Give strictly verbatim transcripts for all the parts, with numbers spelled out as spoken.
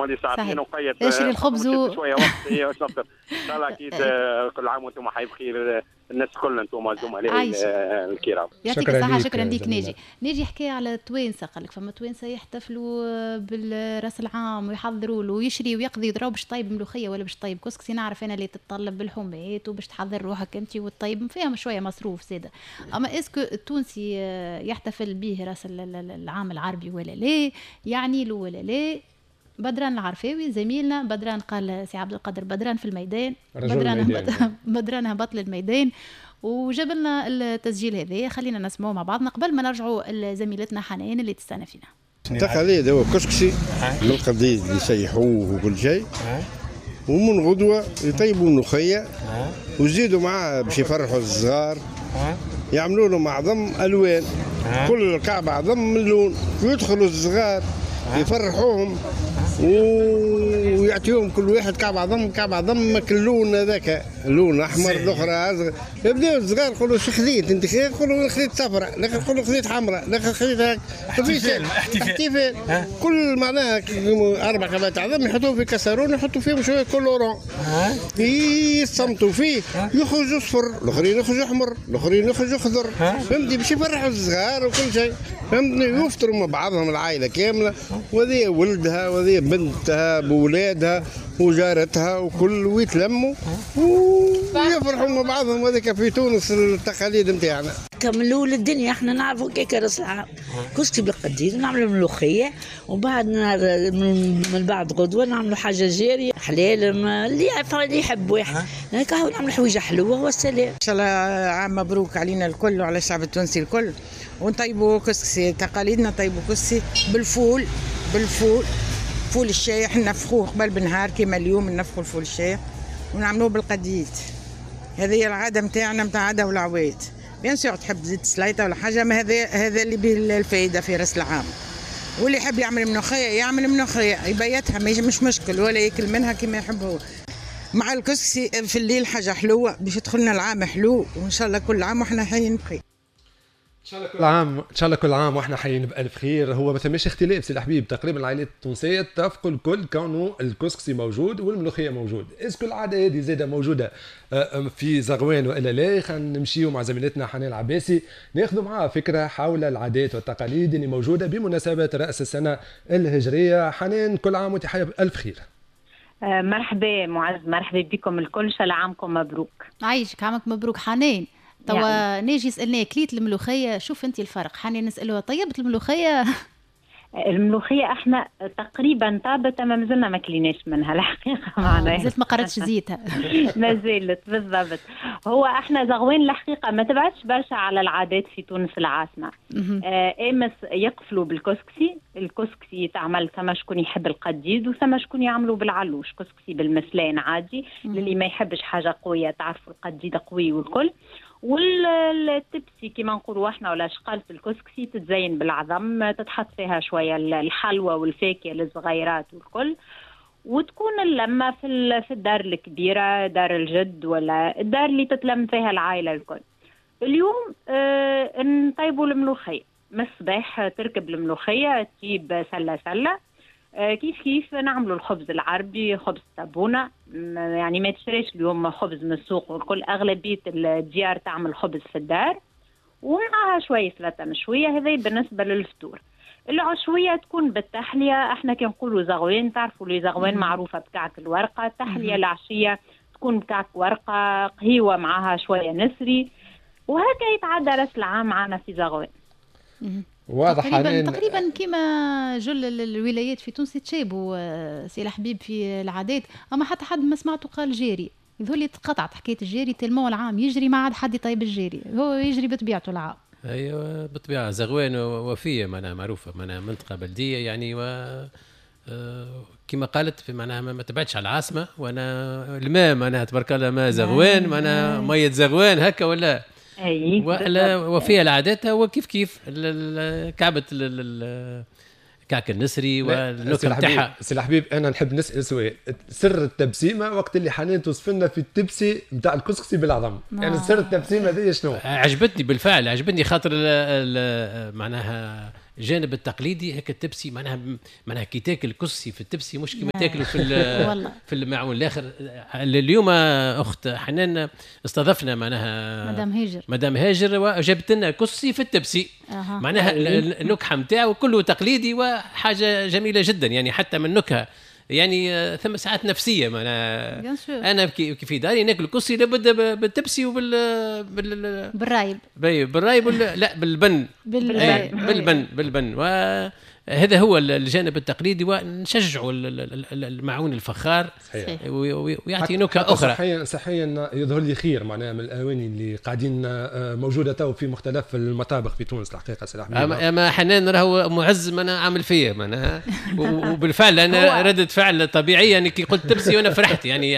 عندي ساعتين وقيت اشري الخبز و... شوية وقت باش نفطر. ان شاء الله اكيد كل عام وانتم حي بخير الناس الكل، انتم الزملاء الكرام. يعطيك الصحة، شكرا ليك ناجي. ناجي حكى على التوانسة، قال لك فما توانسة يحتفلوا بالراس العام ويحضروا له ويشري ويقضي يضرب باش طيب ملوخية ولا باش طيب كسكسي. نعرف انا اللي تتطلب بالحمات وباش تحضر روحك انت وتطيب فيها شوية مصروف زاده. اما est-ce que التونسي يحتفل به راس العام العربي ولا لا؟ يعني له ولا لا؟ بدران العرفاوي زميلنا بدران، قال سي عبد القادر بدران في الميدان، بدران هبط بدران هبط للميدان وجاب لنا التسجيل هذا، خلينا نسمعه مع بعضنا قبل ما نرجعوا لزميلتنا حنان اللي تستنى فينا. التقاليد هو كسكسي من القديد اللي يسيحوه وكل شيء، ومن غدوه يطيبوا ملوخية ويزيدوا معاه باش يفرحوا الصغار، يعملوا لهم عظم الوان، كل كعبه عظم من لون، ويدخلوا الصغار يفرحوهم ويعطيهم كل واحد كعب عظم كعب عظم اللون هذاك، لون احمر الاخرى ازرق. يبداو الصغار يقولوا شو خذيت انت؟ يقولوا خذيت صفراء، الاخر يقولوا خذيت حمراء، الاخر خذيت هاك. احتفال احتفال كل معناها اربع كعبات عظم يحطوهم في كسرون، يحطوا فيهم شوية colorant يصمتوا فيه، يخرجوا صفر، الاخرين يخرجوا احمر، الاخرين يخرجوا خضر، فهمتني؟ باش يفرحوا الصغار وكل شيء، فهمتني؟ يفطروا مع بعضهم العائلة كاملة، وهذه ولدها وهذه بنتها بولادها وجارتها وكل، ويتلموا ويفرحوا مع بعضهم. وهذاك في تونس التقاليد نتاعنا. من الاول الدنيا احنا نعرفوا كيك راس العام كسكسي بالقديد، نعملوا ملوخية، وبعد من بعد غدوه نعملوا حاجة جارية حلال اللي اللي يحب واحد، هكا نعملوا حويجه حلوة والسلام. ان شاء الله عام مبروك علينا الكل وعلى الشعب التونسي الكل. ونطيبوا كسكسي تقاليدنا، نطيبوا كسكسي بالفول، بالفول فول الشايح نفخوه قبل بنهار كيما اليوم نفخوا الفول الشايح ونعملوه بالقديد. هذه هي العادة نتاعنا نتاع عادة والعوايد. bien sûr تحب تزيد سليطه ولا حاجة، ما هذا هذا اللي به الفائدة في راس العام. واللي يحب يعمل ملوخية يعمل ملوخية يبيتها مش مشكل، ولا ياكل منها كما يحب هو. مع الكسكسي في الليل حاجة حلوة باش يدخلنا العام حلو، وان شاء الله كل عام وحنا حيين بخير. ان شاء الله كل عام، ان شاء الله كل عام واحنا حيين بالف خير. هو ما ثماش اختلاف سي الحبيب، تقريبا العائلات التونسية اتفقوا الكل كونه الكسكسي موجود والملوخيه موجود. est-ce que العادة هذه زاده موجودة في زغوان والا لا؟ خلينا نمشيو مع زميلتنا حنان العباسي ناخذوا معها فكرة حول العادات والتقاليد اللي موجودة بمناسبة راس السنة الهجرية. حنان، كل عام وانت حيه بالف خير. مرحبا معز، مرحبا بكم الكل، ان شاء الله عامكم مبروك. عايشك، عامك مبروك حنان. توا يعني. ناجي سألناه كليت الملوخية، شوف انت الفرق. حنان نسألوها طيبت الملوخية؟ الملوخية احنا تقريبا طابت، ما مازلنا ما كليناش منها الحقيقة، معناها مازلت ما قررتش زيتها. ما زالت بالضبط. هو احنا زغوان الحقيقة ما تبعدش برشا على العادات في تونس العاصمة. آه امس يقفلوا بالكسكسي، الكسكسي تعمل ثم شكون يحب القديد وثم شكون يعملوا بالعلوش، كسكسي بالمسلان عادي للي ما يحبش حاجة قوية، تعرفوا القديد قوي والكل. والتبسي كما نقولوا احنا ولا شقالة الكسكسي تتزين بالعظم، تتحط فيها شوية الحلوى والفاكهه للصغيرات والكل، وتكون اللمة في في الدار الكبيرة، دار الجد ولا الدار اللي تتلم فيها العائلة الكل. اليوم اه نطيبوا الملوخية من الصباح، تركب الملوخية تجيب سله سله. كيف كيف نعملوا الخبز العربي، خبز الطابونه، يعني ما تشتريش اليوم خبز من السوق والكل، اغلبية الديار تعمل خبز في الدار، ومعها شوية سلطة مشوية. هذا بالنسبة للفطور. العشويه تكون بالتحليه، احنا كي نقولوا زغوين تعرفوا لي زغوين معروفة بكعك الورقة، التحلية العشية تكون بكعك ورقة، قهيوه معها شوية نسري، وهكا يتعدى راس العام معنا في زغوين. واضح. تقريبا تقريبا كما جل الولايات في تونس تشابهوا سي الحبيب في العادات، اما حتى حد ما سمعته قال جاري، يظهر لي تقطعت حكاية الجاري tellement العام يجري ما عاد حد يطيب الجاري، هو يجري بطبيعته العام. ايوه بالطبيعة زغوان وفيه معناها معروفة، معناها منطقة بلديه يعني، و كما قالت في معناها ما تبعدش على العاصمة، وانا الماء معناها تبارك الله ماء زغوان، معناها مية زغوان هكا ولا اي ولا وفيها العادات هو كيف كيف كعبه كعك النسري والنكهه نتاعها. سي الحبيب انا نحب نسال سؤال، سر التبسيمه وقت اللي حنان توصف لنا في التبسي نتاع الكسكسي بالعظم، يعني سر التبسيمه هذه شنو؟ عجبتني بالفعل، عجبتني خاطر معناها الجانب التقليدي هكا التبسي معناها معناها كي تاكل كسكسي في التبسي مش كيما تاكله في في المعون الاخر. اليوم اخت حنان استضفنا معناها مدام هاجر مدام هاجر وجابت لنا كسكسي في التبسي أه. معناها النكهة نتاعو كله تقليدي وحاجه جميلة جدا، يعني حتى من النكهة يعني ثم ساعات نفسية معناها انا في داري ناكل كسكسي لابد بالتبسي وبال بال بالرايب بالرايب ولا لا بالبن بالبن بالبن بالبن. وهذا هو الجانب التقليدي، ونشجعوا المعون الفخار صحيح. ويعطي نكهة اخرى. صحيا صحيا يظهر لي خير معناها من الاواني اللي قاعدين موجودة تو في مختلف المطابخ في تونس الحقيقة. سي اما أما حنان راهو معز معناها عامل فيا معناها، وبالفعل انا ردة فعل طبيعية يعني كي قلت تبسي وانا فرحت يعني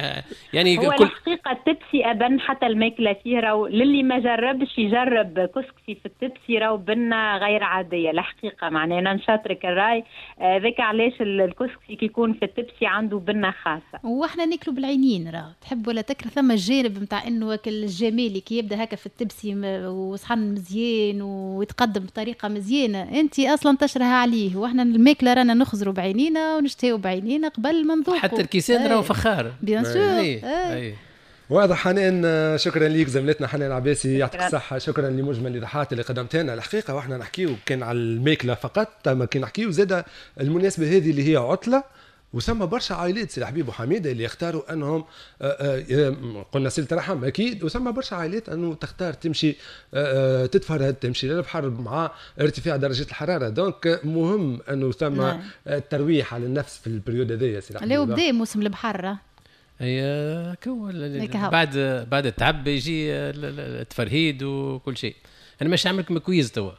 يعني هو كل الحقيقة التبسي ابن حتى الماكلة فيه راهو للي ما جربش يجرب كسكسي في التبسي راهو بنه غير عادية الحقيقة، معناها انا نشاطرك الراي ذاك علاش الكسكسي كي يكون في التبسي عنده بنه خاصة. واحنا ناكلوا بالعينين راه تحب ولا تكره، ثم الجانب نتاع انه الجمالي كي يبدا هكا في التبسي وصحن مزيان ويتقدم بطريقة مزيانه انت اصلا تشرها عليه، واحنا الماكلة رانا نخزروا بعينينا ونشتهيو بعينينا قبل ما نذوقوا. حتى الكيسان راهو فخار bien sûr. واضح حنان، شكرا ليك زميلتنا حنان عباسي، يعطيك الصحة. شكرا لمجمل الإيضاحات اللي قدمتها لنا. الحقيقة واحنا نحكيو كان على الماكلة فقط، ما كان نحكيو زادة المناسبة هذه اللي هي عطلة، وثم برشا عائلات سي الحبيب وحميده اللي يختاروا انهم قلنا صله رحم اكيد، وثم برشا عائلات انه تختار تمشي تتفرهد تمشي للبحر مع ارتفاع درجه الحرارة، donc مهم انه ثم الترويح على النفس في ال période هذايا سي الحبيب. لو بدا موسم البحر اي كو بعد بعد التعب يجي التفرهيد وكل شيء. انا مش عامل لكم quiz توا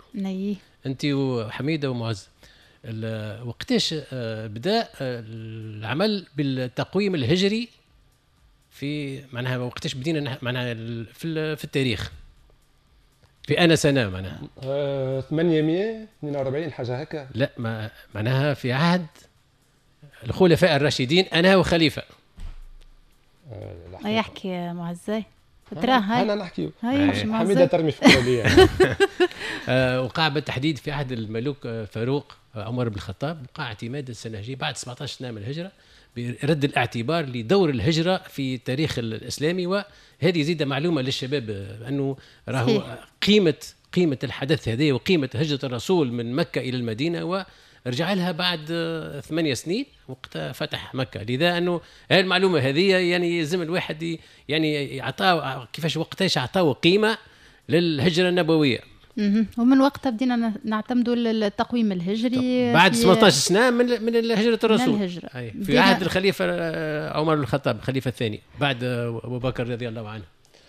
انت وحميده ومعز، وقتاش بدا العمل بالتقويم الهجري في معناها وقتاش بدينا معناها في في التاريخ في انا سنة معناها ثمانمية واثنين وأربعين حاجة هكا؟ لا ما معناها في عهد الخلفاء الراشدين انا وخليفة. يحكي معزي تراه هاي انا نحكي حميده ترمي في الكلية. وقع بالتحديد في عهد الملوك فاروق عمر بن الخطاب، وقع اعتماد السنة الهجرية بعد سبعطاش سنة من الهجرة برد الاعتبار لدور الهجرة في التاريخ الاسلامي. وهذه زيد معلومة للشباب انه راهو قيمة قيمة الحدث هذا وقيمه هجره الرسول من مكة الى المدينة، و رجع لها بعد ثمانية سنين وقت فتح مكة. لذا أنه هذه المعلومة هذه يعني يلزم الواحد يعني عطاه كيفاش وقتاش عطاه قيمة للهجرة النبوية. ومن وقتها بدينا نعتمدوا التقويم الهجري بعد ثمنطاش سنة من من هجرة الرسول. من الهجرة. في عهد الخليفة عمر بن الخطاب الخليفة الثاني بعد أبو بكر رضي الله عنه.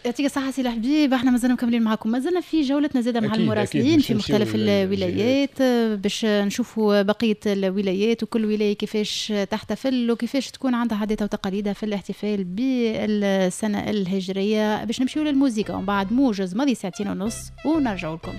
يعطيك الصحة سي الحبيب، احنا مازلنا مكملين معكم، مازلنا في جولتنا زادة مع المراسلين في مختلف الولايات باش نشوفوا بقية الولايات وكل ولاية كيفاش تحتفل وكيفاش تكون عندها عاداتها وتقاليدها في الاحتفال بالسنة الهجرية. باش نمشيو للموسيقى ومن بعد موجز ماضي ساعتين ونص ونرجعوا لكم.